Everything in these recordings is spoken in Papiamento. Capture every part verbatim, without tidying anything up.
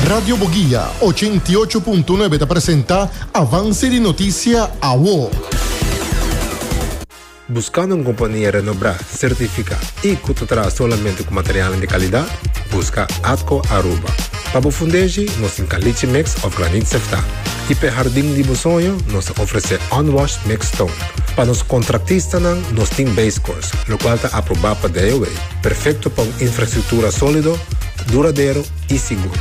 Radio Boguia ochenta i ocho punto nuebe ta presenta Avance di Noticia Awo. Buscando un compania renombra, certifica y cu ta traha solamente cu material di calidad? Busca Atco Aruba. Pa bo fundeshi, nos tin caliche mix of granit sefta. Y pa hardin di bo soño, nos ta ofrece unwashed mixed stone. Pa nos contratistanan, nos tin base course, locual ta aproba pa D O W. Perfecto pa un infrastructura solido, duradero y sigur.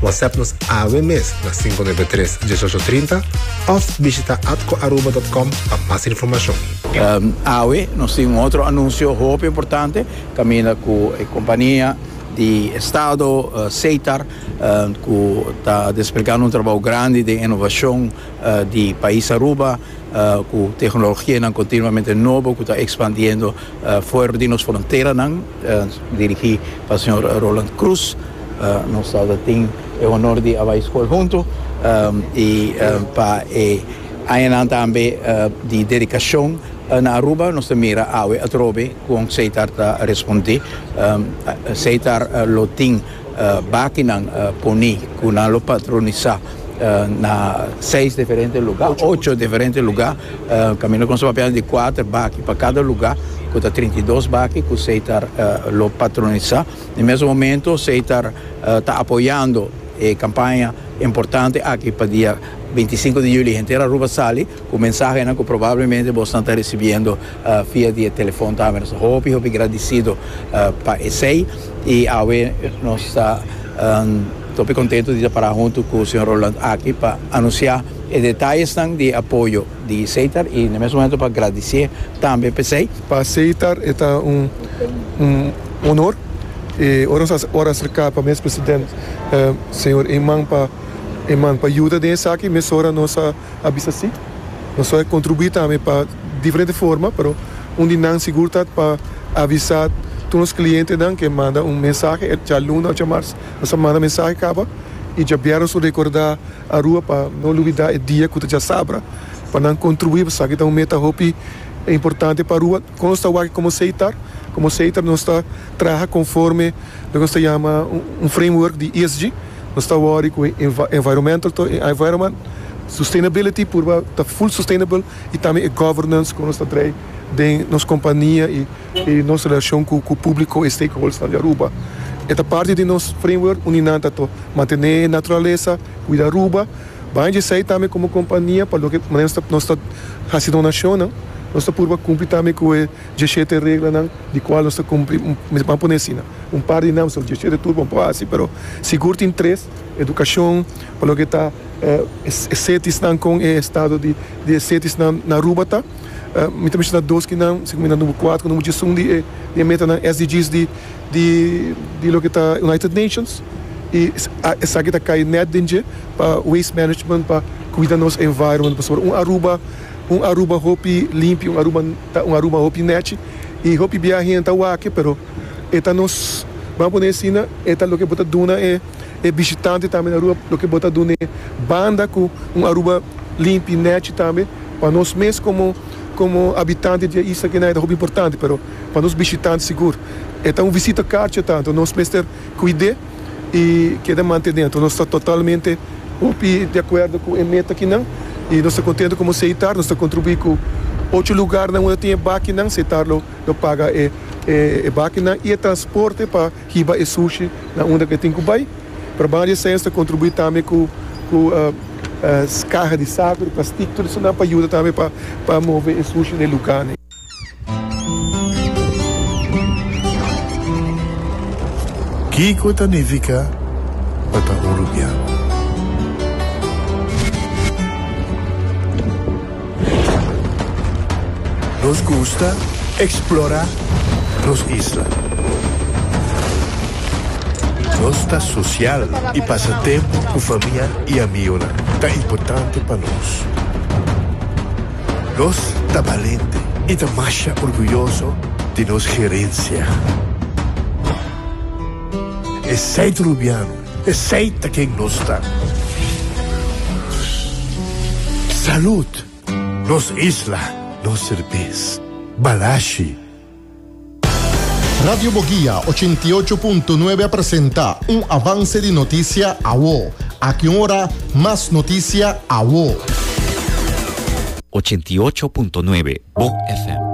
WhatsApp nos awe mes na cinco nuebe tres diesocho trinta of bishita atcoaruba punto com pa mas informacion. Um, awe, nos tin otro anuncio hopi importante, caminda cu e compania di Estado, uh, Setar, uh, cu ta desplegando un trabou grandi di innovacion uh, di pais Aruba, uh, cu tecnologia continuamente nobo, cu ta expandiendo uh, for di nos fronteranan, uh, dirigi pa señor Roland Cruz. Uh, nos tin e honor di a bay scol hunto um, y um, pa e añanan tambe uh, di dedicacion uh, na Aruba. Nos mira awe atrobe con Setar ta responde. um, Setar uh, lo tin uh, bakinan uh, poni cu nan lo patronisa uh, na seis diferente lugar, ocho diferente lugar, uh, caminda cu papel di cuater baki pa cada lugar, cu ta trinta i dos baki cu Setar uh, lo patronisa. Na mes momento, Setar ta uh, apoyando e campaña importante aki pa dia binticinco di juli, henter Aruba sali, cu mensahe cu probablemente bo ta recibiendo uh, via di telefon tambe. Nos hopi, hopi gradicido uh, pa esey y awe nos ta um, hopi contento di para hunto cu señor Roland aki pa anuncia e detayenan di apoyo di Setar y na mes momento pa gradici tambe pa esey. Pa Setar ta un, un honor y ora ora acerca pa mes presidente, uh, señor Eman, pa Eman pa yuda den esaki, mesora nos a bisa si. Nos ta contribui tambe pa diferente forma, pero un di nan sigur pa avisa tur e clientenan cu manda un mensahe, dialuna, diamars, nos manda mensahe caba y diabierna nos recorda Aruba pa no lubida e dia cu diasabra, pa nan contribui, sabi, ta un meta hopi importante pa Aruba. Con nos ta como Setar, como Setar nos ta traha conforme loke nos ta yama un framework di E S G. Nos ta cu environmental, environment, sustainability, por ta full sustainable y tambe governance cu nos ta den nos compania y, y nos relacion cu, cu publico y stakeholders di Aruba. E parti di nos framework, unda nan ta mantene naturalesa, cuida Aruba, bay di tambe como compania, pa loke nos nos ta haciendo donacion, nos ta por cumpli tambe cu e diesshete reglanan, di cual nos ta cumpli, ban pone asina, un par di nan, diesshete tur ban asina, pero sigur tin tres: educacion, pa loke ta eh, cities nan cu e estado di di cities na, na Aruba ta. Uh, mi tambe ta dos cu nan, segun number cuater, number diesun di di meta nan S D Gs di di di loke ta United Nations y esaki ta cay net den pa waste management, pa cuida nos environment, pa un Aruba un Aruba hopi limpi, un Aruba un Aruba hopi net y hopi biahe ta wak, pero e ta nos, ban pone asina, e ta loke bo ta duna e e bishitante tambe na Aruba, loke bo ta duna banda cu un Aruba limpi, net tambe, pa nos mes como como habitante di isla cu ta importante, pero pa nos bishitante sigur. E un visita kaartje tanto, nos mester cuida y keda mantene. Anto, nos ta totalmente di acuerdo cu e meta aki nan y nos ta contento como Setar, nos ta contribui cu ocho lugar na unda tin bakinan, Setar lo, lo paga e, e, e bakinan y e transporte pa hiba e sushi na unda cu tin cu bay. Pa varios ta contribui tambe cu cu uh, uh, caha di saco, di plastic, tur esey pa yuda tambe pa pa move e sushi na lugar. Ne? Kico ta nifica pa ta Arubiano? Nos gusta explora nos isla. Nos ta social y pasa tempo cu famia y amigo. Ta importante pa nos. Nos ta valiente y ta mas orguyoso di nos herencia. Esey ta Arubiano, esey ta ken nos ta. Salud, nos isla, nos cerbes, Balashi. Radio Boguia ochenta i ocho punto nuebe presenta un avance di noticia awo. Aki ora, mas noticia awo. ochenta i ocho punto nuebe Bo F M.